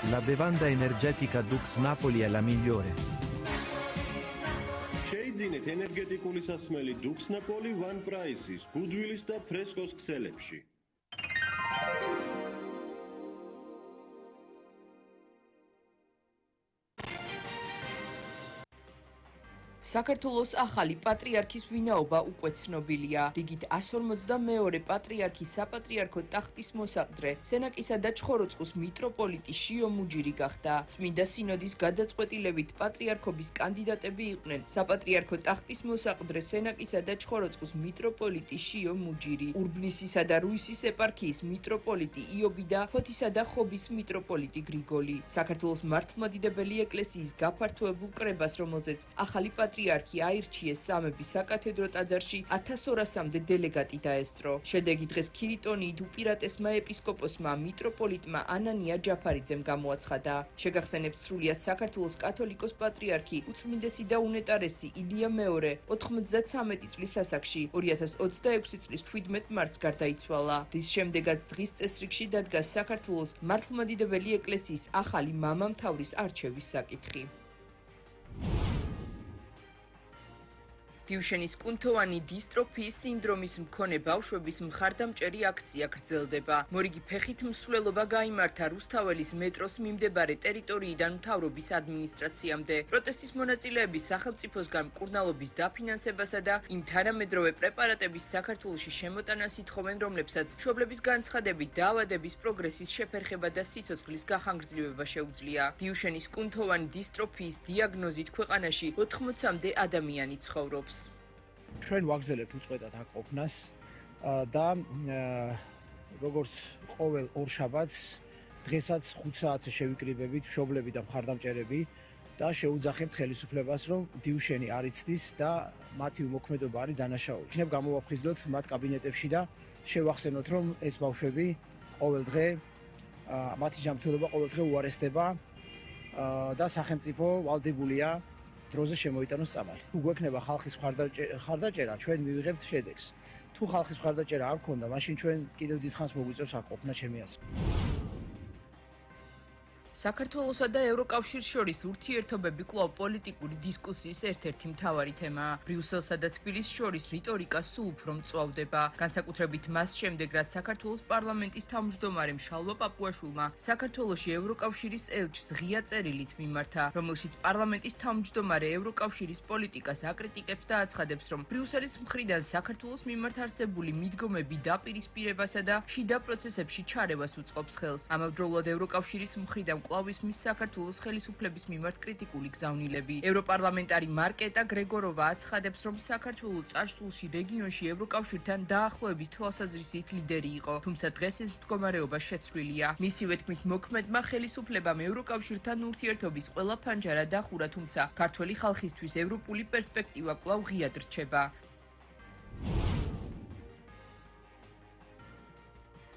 La bevanda energetica Dux Napoli è la migliore. Შეიძინეთ ენერგეტიკული სასმელი Dux Napoli One Price-ის, Goodwill-ის და Fresco-s ქსელებში. საქართველოს ახალი პატრიარქის ვინაობა უკვე ცნობილია. რიგით 152 პატრიარქი საპატრიარქო ტახტის მოსაყდრე, სენაკისა და ჩხოროწყუს მიტროპოლიტი შიო მუჯირი გახდა. წმინდა სინოდის გადაწყვეტილებით პატრიარქობის კანდიდატები იყვნენ საპატრიარქო ტახტის მოსაყდრე, სენაკისა და ჩხოროწყუს მიტროპოლიტი შიო მუჯირი, ურბნისისა და რუისის ეპარქიის მიტროპოლიტი იობი და ფოთისა და ხობის მიტროპოლიტი გრიგოლი. საქართველოს მართლმადიდებელი ეკლესიის გაფართოებულ კრებას, რომელზეც ახალი პატრიარქი აირჩიეს სამების საკათედრო ტაძარში 1200-მდე დელეგატი დაესწრო. შედეგი დღეს ქირიტონიით უპირატესმა ეპისკოპოსმა მიტროპოლიტმა ანანია ჯაფარიძემ გამოაცხადა. შეგახსენებთ, სრულიად საქართველოს კათოლიკოს პატრიარქი უწმინდესი და უნეტარესი ილია მეორე 93 წლის ასაკში 2026 წლის 17 მარტს გარდაიცვალა, რის შემდეგაც დღის წესრიგში დადგა საქართველოს მართლმადიდებელი ეკლესიის ახალი მამამთავრის არჩევის საკითხი. დიუშენის კუნთოვანი დისტროფიის სინდრომის მქონე ბავშვების მხარდამჭერი აქცია გრძელდება. მორიგი ფეხით მსვლელობა გაიმართა რუსთაველის მეტროს მიმდებარე ტერიტორიიდან მთავრობის ადმინისტრაციამდე. პროტესტის მონაწილეები სახელმწიფოსგან მკურნალობის დაფინანსებასა და იმ თანამედროვე პრეპარატების საქართველოში შემოტანას ითხოვენ, რომლებსაც მშობლების განცხადებით დაავადების პროგრესის შეფერხება და სიცოცხლის გახანგრძლივება შეუძლია. დიუშენის კუნთოვანი დისტროფიის დიაგნოზით ქვეყანაში 80-მდე ადამიანი ცხოვრობს. ჩვენ ვაგზელებთ უწყვეტად აქ ყოფნას და როგორც ყოველ ორშაბათს დღესაც 5 საათზე შევიკრიბებით მშობლები და მხარდამჭერები და შეუძახებთ ხელისუფლებას, რომ დიუშენი არ იცდის და მათი უმოქმედობა არის დანაშაული. იქნებ გამოვაფხიზლოთ მათ კაბინეტებში და შევახსენოთ, რომ ეს ბავშვები ყოველ დღე მათი ჯანმრთელობა ყოველ დღე უარესდება და სახელმწიფო ვალდებულია დროზე შემოიტანოს წამალი. თუ გვექნება ხალხის მხარდაჭერა, ჩვენ მივიღებთ შედეგს. თუ ხალხის მხარდაჭერა არ გქონდა, მაშინ ჩვენ კიდევ დიდხანს მოგვიწევს აქ ყოფნა, ჩემი აზრით. საქართველოსა და ევროკავშირს შორის ურთიერთობები კვლავ პოლიტიკური დისკუსიის ერთ-ერთი მთავარი თემაა. ბრიუსელსა და თბილისს შორის რიტორიკა სულ უფრო მწვავდება. განსაკუთრებით მას შემდეგ, რაც საქართველოს პარლამენტის თავმჯდომარემ შალვა პაპუაშვილმა საქართველოში ევროკავშირის ელჩს ღია წერილით მიმართა, რომელშიც პარლამენტის თავმჯდომარე ევროკავშირის პოლიტიკას აკრიტიკებს და აცხადებს, რომ ბრიუსელის მხრიდან საქართველოს მიმართ არსებული მიდგომები დაპირისპირებასა და შიდა პროცესებში ჩარევას უწყობს ხელს. ამავდროულად ევროკავშირის მხრიდან კვლავ ისმის საქართველოს ხელისუფლების მიმართ კრიტიკული გზავნილები. ევროპარლამენტარი მარკეტა გრეგოროვა აცხადებს, რომ საქართველო წარსულში რეგიონში ევროკავშირთან დაახლოების თვალსაზრისით ლიდერი იყო, თუმცა დღეს ეს მდგომარეობა შეცვლილია. მისივე თქმით, მოქმედმა ხელისუფლებამ ევროკავშირთან ურთიერთობის ყველა ფანჯარა დახურა, თუმცა ქართველი ხალხისთვის ევროპული პერსპექტივა კვლავ ღიად რჩება.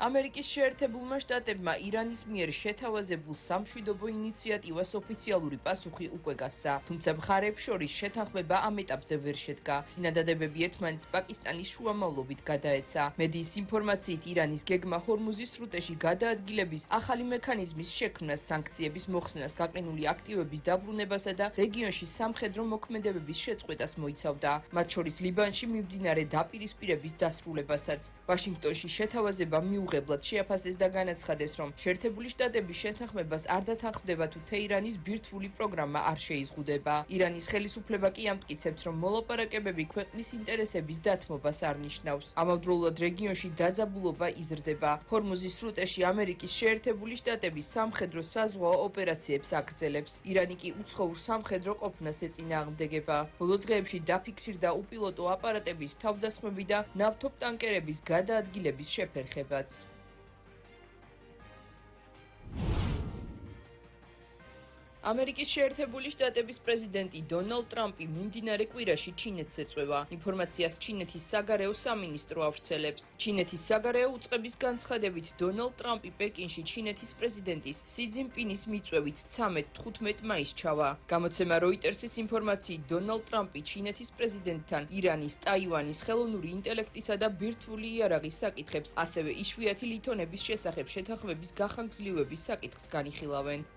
ამერიკის შეერთებულმა შტატებმა ირანის მიერ შეთავაზებულ სამშვიდობო ინიციატივას ოფიციალური პასუხი უკვე გასცა, თუმცა მხარეებს შორის შეთანხმება ამ ეტაპზე ვერ შედგა. წინადადებები ერთმანეთს პაკისტანის შუამავლობით გადაეცა. მედიის ინფორმაციით, ირანის გეგმა ჰორმუზის სრუტეში გადაადგილების ახალი მექანიზმის შექმნას, სანქციების მოხსნას, გაყინული აქტივების დაბრუნებასა და რეგიონში სამხედრო მოქმედებების შეწყვეტას მოიცავდა, მათ შორის ლიბანში მიმდინარე დაპირისპირების დასრულებასაც. ვაშინგტონში შეთავაზება მიუღებლად შეაფასეს და განაცხადეს, რომ შეერთებული შტატების შეთანხმებას არ დათანხმდება, თუ თეირანის ბირთვული პროგრამა არ შეიზღუდება. ირანის ხელისუფლება კი ამტკიცებს, რომ მოლაპარაკებები ქვეყნის ინტერესების დათმობას არ ნიშნავს. ამავდროულად რეგიონში დაძაბულობა იზრდება. ჰორმუზის სრუტეში ამერიკის შეერთებული შტატები სამხედრო საზღვაო ოპერაციებს აგრძელებს. ირანი კი უცხოურ სამხედრო ყოფნას ეწინააღმდეგება. ბოლო დღეებში დაფიქსირდა უპილოტო აპარატებით თავდასხმები და ნავთობტანკერების გადაადგილების შეფერხებაც. ამერიკის შეერთებული შტატების პრეზიდენტი დონალდ ტრამპი მიმდინარე კვირაში ჩინეთს ეწვევა. ინფორმაციას ჩინეთის საგარეო სამინისტრო ავრცელებს. ჩინეთის საგარეო უწყების განცხადებით, დონალდ ტრამპი პეკინში ჩინეთის პრეზიდენტის სი ძინპინის მიწვევით 13-15 მაისს ჩავა. გამოცემა როიტერსის ინფორმაციით, დონალდ ტრამპი ჩინეთის პრეზიდენტთან ირანის, ტაივანის, ხელოვნური ინტელექტისა და ბირთვული იარაღის საკითხებს, ასევე იშვიათი ლითონების შესახებ შეთანხმების გახანგრძლივების საკითხს განიხილავენ.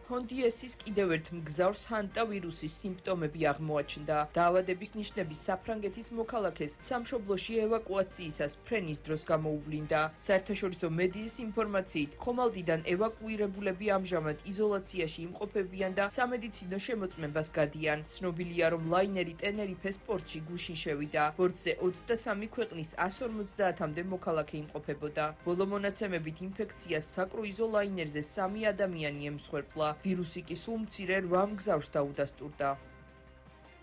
ჰონდიესის კიდევ ერთ მგზავრს ჰანტა ვირუსის სიმპტომები აღმოაჩნდა. დაავადების ნიშნები საფრანგეთის მოქალაქეს სამშობლოში ევაკუაციისას ფრენის დროს გამოუვლინდა. საერთაშორისო მედიის ინფორმაციით, ხომალდიდან ევაკუირებულები ამჟამად იზოლაციაში იმყოფებიან და სამედიცინო შემოწმებას გადიან. ცნობილია, რომ ლაინერი ტენერიფეს პორტში გუშინ შევიდა. ბორტზე 23 ქვეყნის 150-მდე მოქალაქე იმყოფებოდა. ბოლო მონაცემებით ინფექციას საკრუიზო ლაინერზე 3 ადამიანი ემსხვერპლა. ვირუსი კი სულ მცირე 8 მგზავრს დაუდასტურდა.